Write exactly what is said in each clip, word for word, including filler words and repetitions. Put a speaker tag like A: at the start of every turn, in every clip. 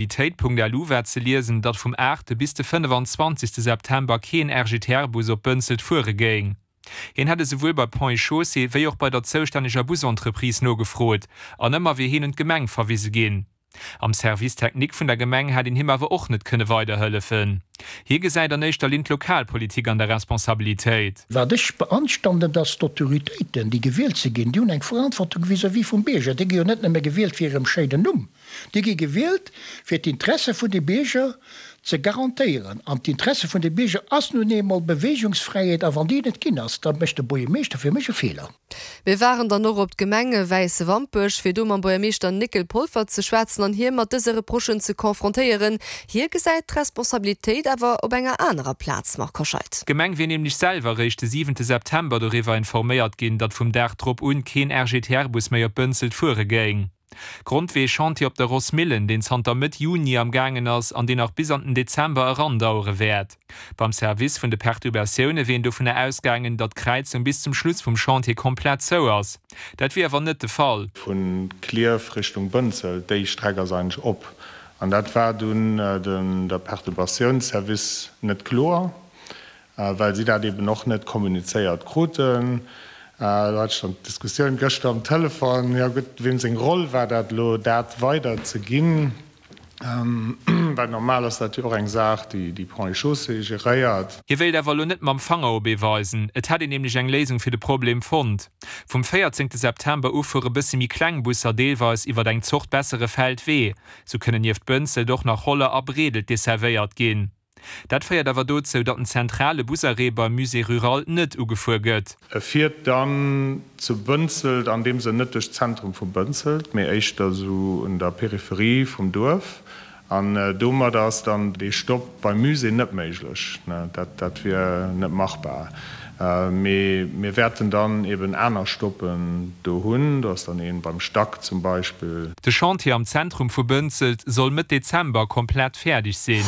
A: Mobilitéit.lu war ze liesen, datt vum aachte bis de fënnefenzwanzegste September keen R G T R-Bus op Bënzelt fuere géing. Hien hätt esouwuel bei Ponts et Chaussées wéi och bei der zoustänneger Busentreprise nogefrot, an ëmmer wier hien un d'Gemeng verwise ginn. Am Service technique vun der Gemeng hätt een him awer och net kënne weiderhëllefen. Hie gesäit an éischter Linn d'Lokalpolitik an der Responsabilitéit.
B: Wat ech beanstanden, dass d'Autoritéiten, déi gewielt ze ginn, déi hunn eng Verantwortung vis-à-vis vum Bierger. Déi gi jo net nëmme gewielt fir hirem schéinen Numm. Déi gi gewielt fir d'Interesse vun de Bierger ze garantéieren. An d'Interesse vun de Bierger ass nun eemol Beweegungsfräiheet, a wann déi net ginn ass, da mécht de Buergermeeschter fir mech e Feeler.
C: Mir waren dann och op d'Gemeng Wäiswampech, fir do mam Buergermeeschter Néckel Polfer ze schwätzen an hie mat dëse Reprochen ze konfrontéieren. Hie gesäit d'Responsabilitéit awer op enger anerer Plaz, Marc Hoscheid.
A: D'Gemeng wier nämlech selwer réischt de siwente September doriwwer informéiert ginn, datt vum Dag drop un keen R G T R-Bus méi op Bënzelt fuere géing. Grond wier e Chantier op der Rossmillen, deen zanter Mëtt Juni am gaangen ass an deen nach bis an den Dezember erandauere wäert. Beim Service vun de Perturbatioune wier een dovunner ausgaangen, datt d'Kräizung bis zum Schluss vum Chantier komplett zou ass. Dat wier awer net de Fall.
D: Vu Klierf Richtung Bënzelt, déi Streck ass eigentlech op. An dat war dunn den der Perturbatiounsservice net kloer, well si dat eben och net kommunizéiert kruten. Do hat ech dann d'Diskussioun gëschter am Telefon, jo gutt, weem seng Roll war dat elo, dat weiderzeginn? Well normal ass dat jo och eng Saach, déi déi Ponts et Chaussées geréiert.
A: Hie wéilt awer elo net mam Fanger op ee weisen, et hätt een nämlech eng Léisung fir de Problem fonnt. Vum véierzéngte September u fuere bësse méi kleng Busser deelweis iwwer eng Zort bessere Feldwee. Sou kënnen nieft Bënzelt och nach Holler a Bredelt desservéiert ginn. Dat féiert awer dozou, datt den zentrale Busarrêt beim Musée rural net ugefuer gëtt.
D: E fiert dann zu Bënzelt an deem Sënn net duerch d'Zentrum vu Bënzelt, mee éischter esou un der Peripherie vum Duerf. An domadder ass dann dee Stopp beim Musée net méiglech. Dat dat wier net machbar. Mee mir wäerten dann eben aner Stoppen do hunn. Do ass dann ee beim Stack zum Beispill.
A: De Chantier am Zentrum vu Bënzelt soll Mëtt Dezember komplett fäerdeg sinn.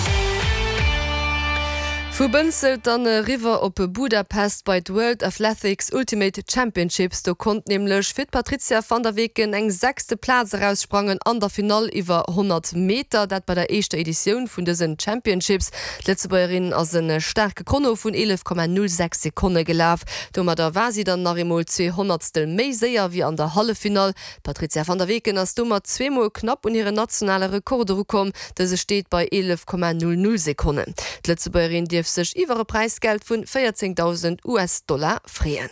C: Vu Bënzelt dann eriwwer op Budapest bei d'World Athletics Ultimate Championships. Do konnt nämlech fir d'Patrizia van der Weken eng sechste Plaz eraussprangen an der Finall iwwer honnert Meter, dat bei der éischter Editioun vun dësen Championships. D'Lëtzebuergerin ass e staarke Chrono vun eelef Komma null sechs Sekonne gelaf. Domadder war si dann nach eemol zwee Honnertstel méi séier wéi an der Halleffinall. D'Patrizia van der Weken ass domat zweemol knapp un hiren nationale Rekord erukomm, dëse steet bei eelef Komma null null Sekonnen. D'Lëtzebuergerin dierf sech iwwer e Präisgeld vun véierzéngdausend U S-Dollar freeën.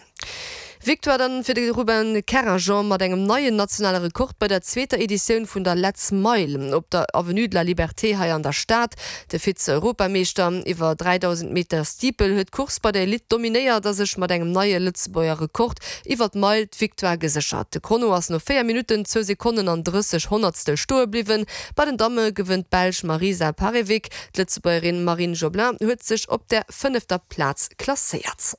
C: Victoire dann fir de Ruben Kerrajean mat engem neien nationale Rekord bei der zweeter Editioun vun der Let's Mile op der Avenue de la Liberté hei an der Stad. De Vize-Europameeschter iwwer dräidausend Meter Steeple huet d'Course bei der Elite dominéiert a sech mat engem neie Lëtzebuerger Rekord iwwer d'Meil d'Victoire geséchert. De Chrono ass no véier Minutten, zwou Sekonnen an drësseg Honnertstel stoe bliwwen. Bei den Damme gewënnt d'Belsch Marisa Parevic. D'Lëtzebuergerin Marine Joblin huet sech op der fënnefter Plaz klasséiert.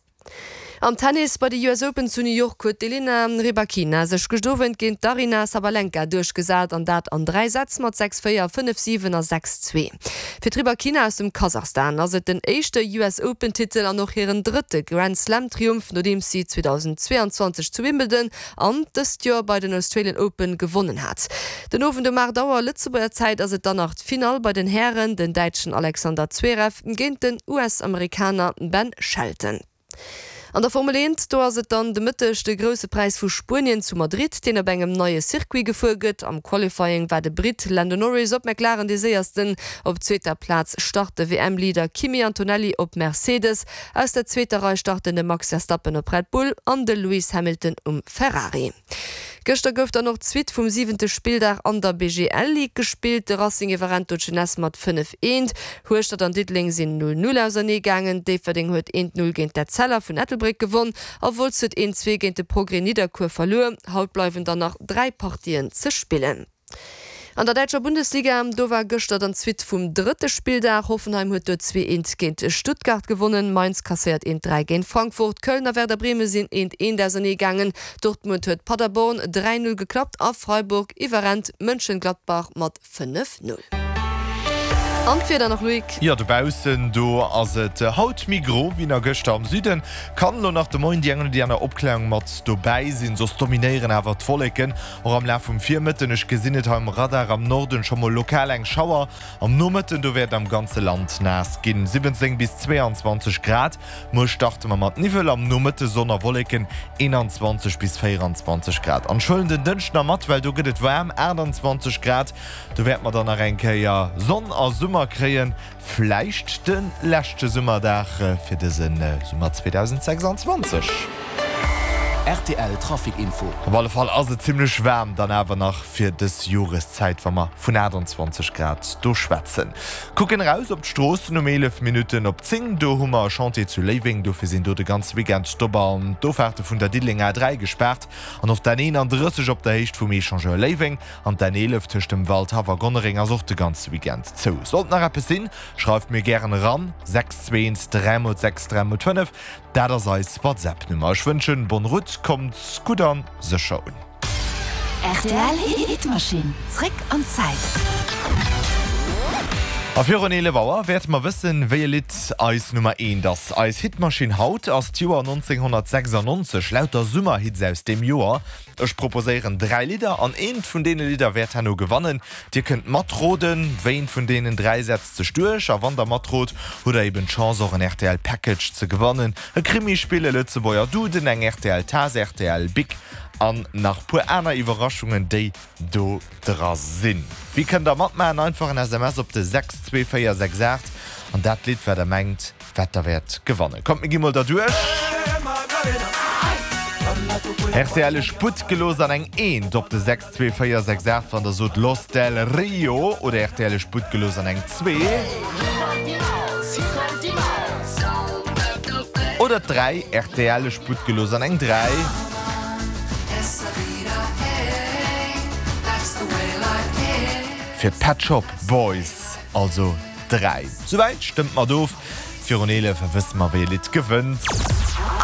C: Am Tennis bei de U S Open zu New York huet d'Elena Rybakina sech gëscht Owend géint d'Aryna Sabalenka duerchgesat an dat an dräi Sätz mat sechs véier, fënnef siwen a sechs zwee. Fir d'Rybakina aus dem Kasachstan ass et den éischte U S Open Titel an och hiren drëtte Grand Slam Triumph, nodeems si zweedausendzweeanzwanzeg zu Wimbledon an dëst Joer bei den Australian Open gewonnen hat. Den Owend um aacht Auer Lëtzebuerger Zäit ass et dann nach d'Finall bei den Hären, den Däitschen Alexander Zverev géint den U S-Amerikaner Ben Shelton. An der Formel eent, do ass et dann de Mëtteg de Grousse Präis vu Spuenien zu Madrid, deen op engem neie Circuit gefuer gëtt. Am Qualifying war de Britt Lando Norris op McLaren dee Séiersten. Op zweeter Plaz start de W M-Leader Kimi Antonelli op Mercedes. Aus der zweeter Rei starten de Max Verstappen op Red Bull an de Lewis Hamilton um Ferrari. Gëschter gouf dann och d'Suite vum siwente Spilldag an der B G L Ligue gespillt. De Racing iwwerrennt do d'Jeunesse mat fënnef eent. Hueschtert an Diddeleng sinn null null ausernee gaangen. Déifferdeng huet eent null géint d'Etzella vun Ettelbréck gewonn a Wolz huet eent zwee géint de Progrès Nidderkuer verluer. Haut bleiwen dann nach dräi Partien ze spillen. An der däitscher Bundesliga, do war gëschter dann d'Suite vum drëtte Spilldag. Hoffenheim huet do zwee eent géint Stuttgart gewonnen, Mainz kasséiert eent dräi géint Frankfurt, Köln a Werder Bremen sinn eent eent ausernee gaangen, Dortmund huet Paderborn dräi null geklappt a Freiburg iwwerrennt Mönchengladbach mat fënnef null. An d'Wieder nach, Loïc?
E: Jo, dobaussen do ass et haut méi gro wéi nach gëschter. Am Süden kann elo nach de Moien déi eng oder déi aner Opklärung mat dobäi sinn, soss dominéieren awer d'Wolleken och am Laf vum Virmëtten. Ech gesinn et hei um Radar am Norden scho mol lokal eng Schauer. Am Nomëtten do wäert am ganze Land naass ginn, siwwenzéng bis zweeanzwanzeg Grad. Muer starte mer mat Niwwel, am Nomëtte Sonn a Wolleken, eenanzwanzeg bis véieranzwanzeg Grad. An ech huelen den Dënschden nach mat, well do gëtt et waarm, aachtanzwanzeg Grad. Do wäerte mer dann nach eng Kéier Sonn a Summer kréien, vläicht de leschte Summerdag fir dëse Summer zweedausendsechsanzwanzeg.
F: Rtl Trafic Info.
E: Op alle Fall ass et zimmlech waarm dann awer nach fir dës Joreszäit, wa mer vun aachtanzwanzeg Grad do schwätzen. Kucken eraus op d'Stroossen um eelef Minutten op zéng, do hu mer e Chantier zu Léiweng, dofir sinn do de ganze Weekend d'Op an d'Offaarte vun der Diddelenger A dräi gespaart an och d'N eenandrësseg op der Héicht vum Echangeur Léiweng an d'N eelef tëscht dem Waldhaff a Gonnereng ass och de ganze Weekend zou. Sollt nach eppes sinn, schreift mir gären eran, sechs zwee eent dräi mol sechs dräi mol fënnef, dat ass eis WhatsApp-Nummer. Ech wënschen bonne route, kommt gutt an sécher un.
G: Rtl Hitmaschinn, zréck an d'Zäit.
E: A virun eelef Auer wäerte mer wëssen, wéi e Lidd eis Nummer eent ass. Eis Hitmaschinn haut ass d'Joer nonzénghonnertsechsannonzeg, lauter Summerhits aus deem Joer. Ech proposéieren dräi Lidder an eent vun deene Lidder wäert herno gewannen. Dir kënnt matroden, wéi eent vun deenen dräi setzt sech duerch. A wann der matrot, hutt der eben d'Chance och en rtl Package ze gewannen, e Krimispill, e Lëtzebuerger Duden, eng rtl Taass, rtl Bic an nach puer aner Iwwerraschungen, déi do dra sinn. Wéi kënnt der matmaachen? Einfach en S M S op de sechs zwee véier sechs aacht an dat Lidd wat der mengt wat der wäert gewannen. Kommt mir gi mol derduerch. Rtl Ech Sputt gelooss an eng Eent op de sechs zwee véier sechs aacht wann der sot Los del Rio oder rtl Ech Sputt gelooss an eng zwee. Oder d'dräi, rtl Ech Sputt gelooss an eng dräi. Fir d'Pet Shop Boys also dräi. Souwäit stëmmt mat of. Virun eelef wësse mer wéi e Lidd gewënnt.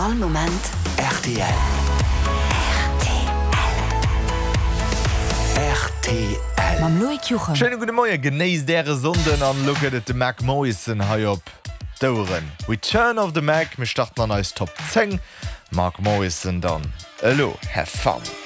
G: All Moment
F: rtl. Rtl.
G: Mam Loïc Juchem.
E: Schéine gudde Moien, genéisst äre Sonnden an elo gëtt et de Mac Morrison hei op d'Oueren. Return of the Mac, mir starten an eis Top zéng. Mark Morrison dann elo, have fun!